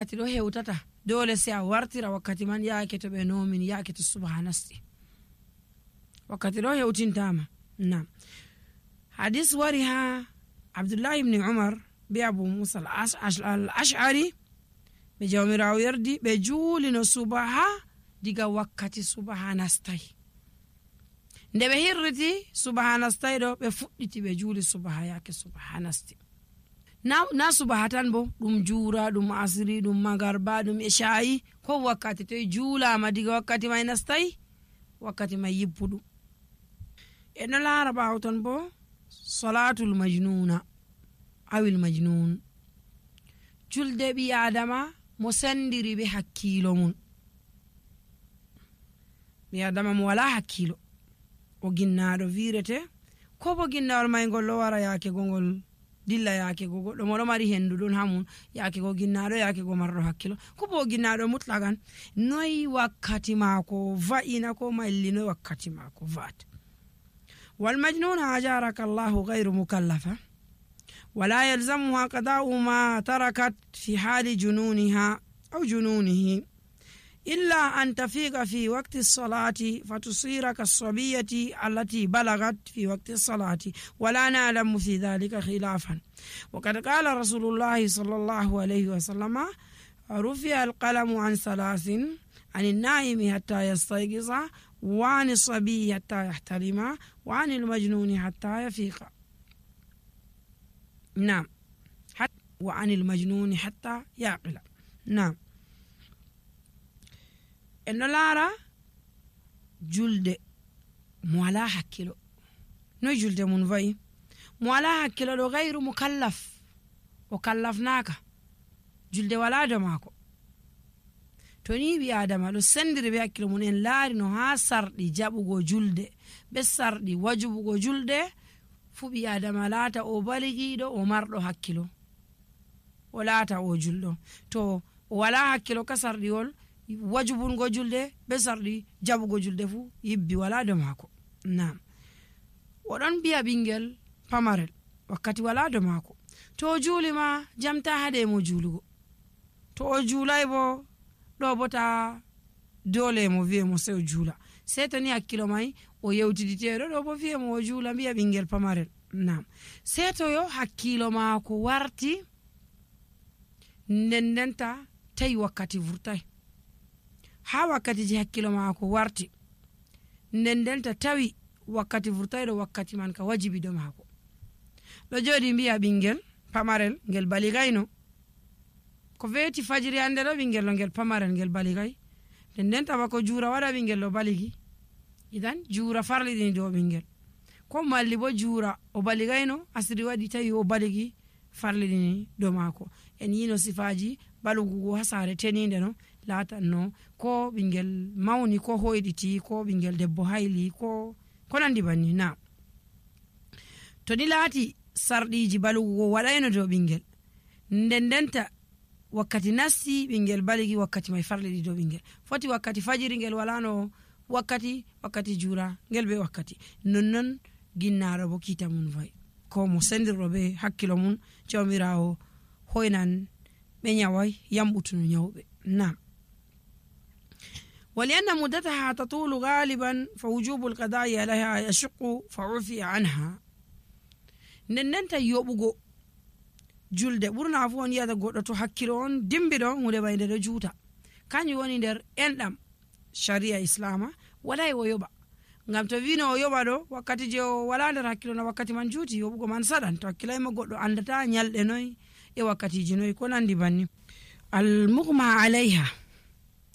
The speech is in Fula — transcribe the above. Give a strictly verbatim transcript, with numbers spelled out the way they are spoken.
Wakkati ɗo hewtata, doole si a wartira wakkati man yaake to ɓe noomin, yaake to subaha nasti. Wakkati ɗo hewtintaama. Naam. Hadis wari haa Abdullahi ibni Umar be Abu Musa al-Ash-, Ash-, al-Ash'ari, ɓe Jawmiraawo yerdi, ɓe juulino subaha diga wakkati subaha nastay. Nde ɓe hirriti subaha nastay ɗo, ɓe fuɗɗiti ɓe juuli subaha yaake subaha nasti. Na, na subaha tan bo, ɗum juura, ɗum asiri, ɗum magarba, ɗum eshaayi, ko wakkati toy juulaama diga wakkati may nastay, wakkati may yibbuɗum. En ɗo laara ɓaawo ton bo, salaatul majnuuna, awil majnuun. Julde ɓii Aadama mo senndiri be hakkiilo mum. Ɓii Aadama mo walaa hakkiilo. O ginnaaɗo wiirete, ko bo ginnawol may ngol ɗo wara yaake go ngol dilla yaake go goɗɗo mo ɗo mari henndu ɗon haa mum, yaake go ginnaaɗo, yaake go marɗo hakkiilo. Ko bo ginnaaɗo mutlaqan, noy wakkati maako va'ina ko malli, noy wakkati maako va'ata. والمجنون أجارك الله غير مكلفة، ولا يلزمها قضاء ما تركت في حال جنونها أو جنونه، إلا أن تفيق في وقت الصلاة فتصير كالصبية التي بلغت في وقت الصلاة، ولا نعلم في ذلك خلافا. وقد قال رسول الله صلى الله عليه وسلم: رفع القلم عن ثلاث، عن النائم حتى يستيقظ، وعن الصبي حتى يحتلم، وعن المجنون حتى يفيق. Naam. Hat-, وعن المجنون حتى يعقل. Naam. En ɗo laara julde mo walaa hakkiilo. Noy julde mum va'i? Mo walaa hakkiilo ɗo gayru mukallaf. O kallafnaaka. Julde walaa dow maako. To ni ɓii Aadama ɗo senndiri be hakkiilo mum, en laari no haa sarɗi jaɓugo julde, be sarɗi wajubugo julde, fuu ɓii Aadama laata o baligiiɗo, o marɗo hakkiilo. O laata o julɗo. To o walaa hakkiilo ka sarɗiwol, wajubungo julde, be sarɗi jaɓugo julde fuu, yibbi walaa dow maako. Naam. O ɗon mbiya ɓinngel pamarel, wakkati walaa dow maako. To o juuli ma, jam taa haɗe mo juulugo. To o juulay bo, ɗo bo taa doole mo, wi'e mo sey o juula. Sey to ni hakkiilo may o yewtiditeeɗo, ɗo bo wi'e mo o juula, mbiya ɓinngel pamarel. Naam. Sey to yo hakkiilo maako warti, nden ndenta tawi wakkati vurtay. Haa wakkatiiji hakkiilo maako warti, nden ndenta tawi wakkati vurtayɗo wakkati man ka wajibi dow maako. Ɗo jooɗi mbiya ɓinngel pamarel ngel baligayno. Ko weeti fajiri hannde ɗo ɓinngel ɗo ngel pamarel ngel baligay. Nden ndenta bako juura waɗa ɓinngel ɗo baligi. Idan juura farliɗini dow ɓinngel. Ko malli bo juura o baligayno, asiri waɗi tawi o baligi, farliɗini dow maako. En yiino sifaaji balugugo haa saare teniinde no laatanno, ko ɓinngel mawni, ko hoyɗiti, ko ɓinngel debbo hayli, ko, ko nanndi banni. Naam. To ni laati sarɗiiji balugugo waɗayno dow ɓinngel, nden ndenta wakkati nasti ɓinngel baligi, wakkati may farliɗi dow ɓinngel. Foti wakkati fajiri ngel walaano wakkati, wakkati juura ngel be wakkati. Nonnon ginnaaɗo bo kiita mum va'i. Ko mo senndirɗo be hakkiilo mum, Jawmiraawo hoynan ɓe nyaway, yamɓutunu nyawɓe. Naam. ولأن مدتها تطول غالبا فوجوب القضاء عليها يشق فعفي عنها. Nden ndenta yoɓugo julde, ɓurna fuu on yi'ata goɗɗo to hakkiilo on dimbiɗo, huunde may nde ɗo juuta. Kanjum woni nder enɗam shari'a Islaama, walay o yoɓa. Ngam to wiino o yoɓa ɗo, wakkati je o walaa nder hakkiilo na wakkati man juuti, yoɓugo man saɗan. To hakkilay mo goɗɗo anndata nyalɗe noy e wakkatiiji noy, ko nanndi banni. Al-mughma alayha.